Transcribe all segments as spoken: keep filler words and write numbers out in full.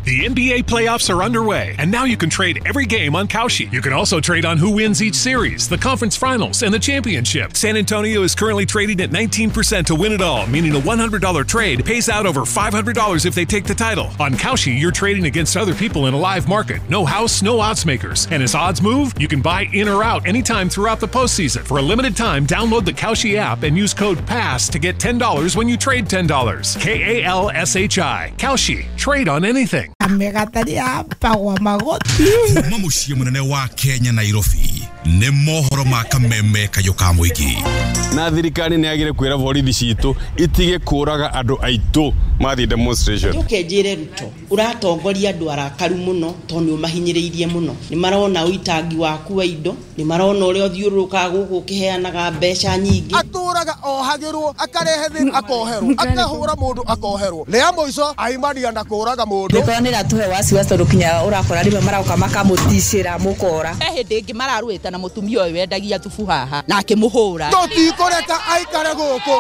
The N B A playoffs are underway, and now you can trade every game on Kalshi. You can also trade on who wins each series, the conference finals, and the championship. San Antonio is currently trading at nineteen percent to win it all, meaning a one hundred dollar trade pays out over five hundred dollars if they take the title. On Kalshi, you're trading against other people in a live market. No house, no odds makers. And as odds move, you can buy in or out anytime throughout the postseason. For a limited time, download the Kalshi app and use code PASS to get ten dollars when you trade ten dollars. K A L S H I. Kalshi. Trade on anything. Amegataria pagwa magoti. Kuma mũciĩ mũnene wa Kenya, Nairobi, nĩ mohoro ma kameme kayũ ka mũingĩ. Na thirikari nĩ yagire kwĩra borithi citũ itige kũraga andũ aitũ mathiĩ demonstration. Njoke njĩre Ruto, ũratongoria andũ arakaru mũno tondũ nĩ ũmahinyĩrĩirie mũno. Nĩ marona ũitangi waku wa indo, nĩ marona ũrĩa ũthiũrũrũkaga gũkũ ũkĩheanaga mbeca nyingĩ. Atũraga ohagĩrwo, akarehe thĩna, akoherwo, akahũra mũndũ, akoherwo, rĩa mũico aimania na kũraga mũndũ. Mĩkora nĩ ĩratũhe wasiwasi tondũ kinya ũrakora rĩmwe maroka makamũticĩra mũkora. He hĩndĩ ĩngĩ mararũĩte na mũtumia ũyũ wendagia thubu haha na akĩmũhũra. Tũtikũreka aikare gũkũ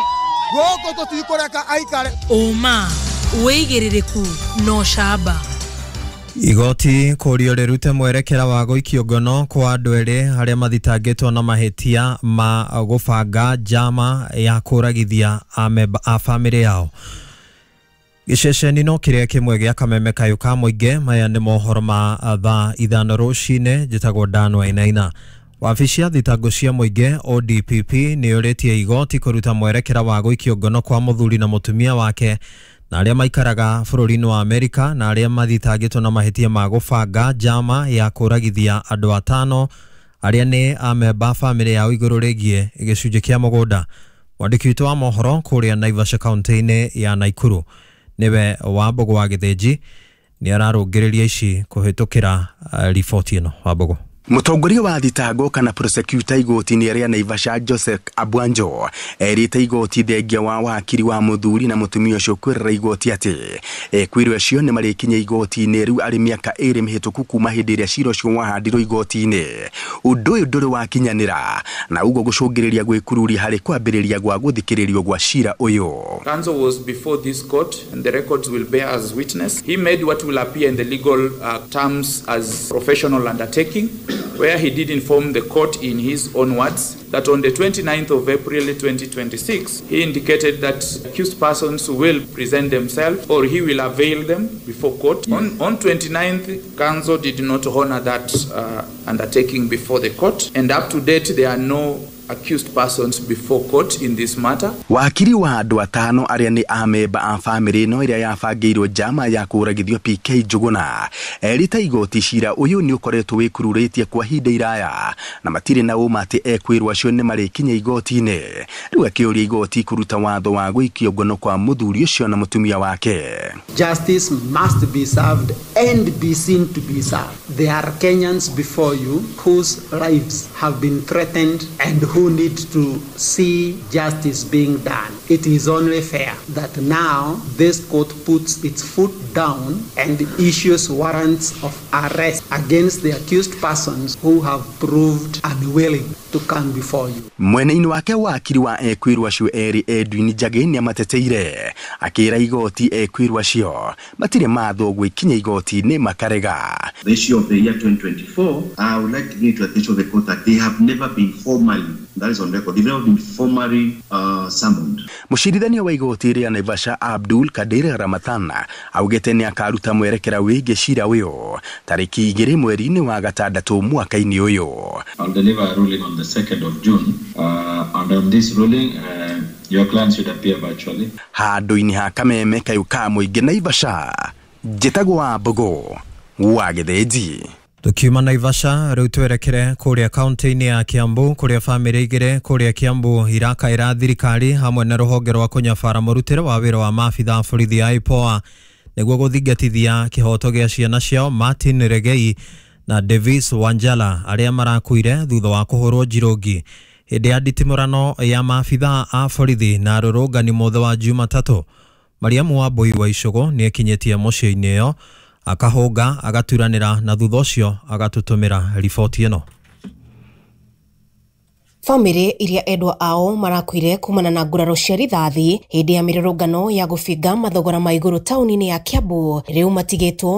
gũkũ, tũtikũreka aikare. Ũma, wĩigĩrĩrĩku na ũcamba. Igoti kũrio rĩrute mwerekera wa gũikio ngono kwa andũ erĩ arĩa mathitangĩtwo na mahĩtia ma gũbanga njama ya kũragithia amemba a bamĩrĩ yao. Gĩceceni no kĩrĩa kĩmwe gĩa kameme kayũ ka mũingĩ. Maya nĩ mohoro ma thaa ithano rũcinĩ. Njĩtagwo Dan Wainaina. Wabici ya thitango cia mũingĩ O D P P nĩ yũrĩtie igoti kũruta mwerekera wa gũikio ngono kwa mũthuri na mũtumia wake na arĩa maikaraga bũrũri-inĩ wa Amerika na arĩa mathitangĩtwo na mahĩtia ma gũbanga njama ya kũragithia andũ atano arĩa nĩ amemba a bamĩrĩ yao igũrũ rĩgiĩ gĩcunjĩ kĩa mũgũnda. Mwandĩki witũ wa mohoro kũrĩa Naivasha, kaunti-inĩ ya Naikuru, nĩwe Wambũgũ wa Gĩthĩnji, nĩ ararũngĩrĩria ici kũhĩtũkĩra uh, riboti ĩno. Wambũgũ. Mũtongoria wa thitango kana prosecutor igoti-inĩ rĩa Naivasha, Joseph Abwanjo, erĩte igoti thengia wa wakiri wa mũthuri na mũtumia ũcio kwĩrĩra igoti atĩ ekwĩrwo acio nĩ marĩkinya igoti-inĩ rĩu arĩ mĩaka ĩrĩ mĩhĩtũku kuma hĩndĩ ĩrĩa cira ũcio wahandirwo igoti-inĩ. Ũndũ ũyũ ndũrĩ wakinyanĩra na ũguo gũcũngĩrĩria gwĩkururia harĩ kwambĩrĩria gwa gũthikĩrĩrio gwa cira ũyũ. Counsel was before this court, and the records will bear as witness. He made what will appear in the legal uh, terms as professional undertaking, where he did inform the court in his own words that on the twenty-ninth of April twenty twenty-six, he indicated that accused persons will present themselves or he will avail them before court. On, on twenty-ninth, counsel did not honor that uh, undertaking before the court, and up to date, there are no accused persons before court in this matter. Wakiri wa andũ atano arĩa nĩ amemba a bamĩrĩ ĩno ĩrĩa yabangĩirwo njama ya kũragithio P K Njũgũna erĩte igoti cira ũyũ nĩ ũkoretwo wĩkururĩtie kwa ihinda iraya na matirĩ na ũma atĩ ekwĩrwo acio nĩ marĩkinya igoti-inĩ. Rĩu akĩũria igoti kũruta watho wa gũikio ngono kwa mũthuri ũcio na mũtumia wake. Justice must be served and be seen to be served. There are Kenyans before you whose lives have been threatened and who need to see justice being done. It is only fair that now this court puts its foot down and issues warrants of arrest against the accused persons who have proved unwilling to come before you. Mwena-inĩ wake, wakiri wa ekwĩrwo acio erĩ Edwin Njagĩ nĩ amateteire akĩra igoti ekwĩrwo acio matirĩ mathwo gwĩkinya igoti-inĩ makarega. The issue of the year twenty twenty-four, I would like to bring to the attention of the court that they have never been formally, that is on record, they've never been formally uh, summoned. Mũcirithania wa igoti rĩa Naivasha, Abdul Kadir Ramathan, augĩte nĩ akaruta mwerekera wĩgiĩ cira ũyũ tarĩki igĩrĩ mweri-inĩ wa gatandatũ mwaka-inĩ ũyũ. I'll deliver a ruling on the second of June, uh, and on this ruling, uh, your client should appear virtually. Handũ-inĩ ha kameme kayũ ka mũingĩ Naivasha, njĩtagwo Wambũgũ wa Gĩthĩnji. Tukiuma Naivasha, rĩu twerekere kũrĩa kaunti-inĩ ya Kiambu, kũrĩa bamĩrĩ igĩrĩ kũrĩa Kiambu irakaĩra thirikari hamwe na rũhonge rwa kũnyabara mũrutĩre wa wĩra wa maabitha a borithi a IPOA nĩguo gũthingatithia kĩhoto gĩa ciana ciao Martin Regei na Davis Wanjala, arĩa marakuire thutha wa kũhũrwo njirũngi hĩndĩ ya nditimũrano ya maabitha a borithi na arũrũngani mũthĩ wa Jumatatũ. Mariamu Wambui wa Icũgũ nĩ ekinyĩtie mũciĩ-inĩ ĩyo, akahũnga, agaturanĩra na thutha ũcio agatũtũmĩra riboti ĩno. Bamĩrĩ iria endwa ao marakuire kumana na nguraro cia rithathi hĩndĩ ya mĩrũrũngano ya gũbinga mathogora ma igũrũ taũni-inĩ ya Kiambu rĩu matigĩtwo.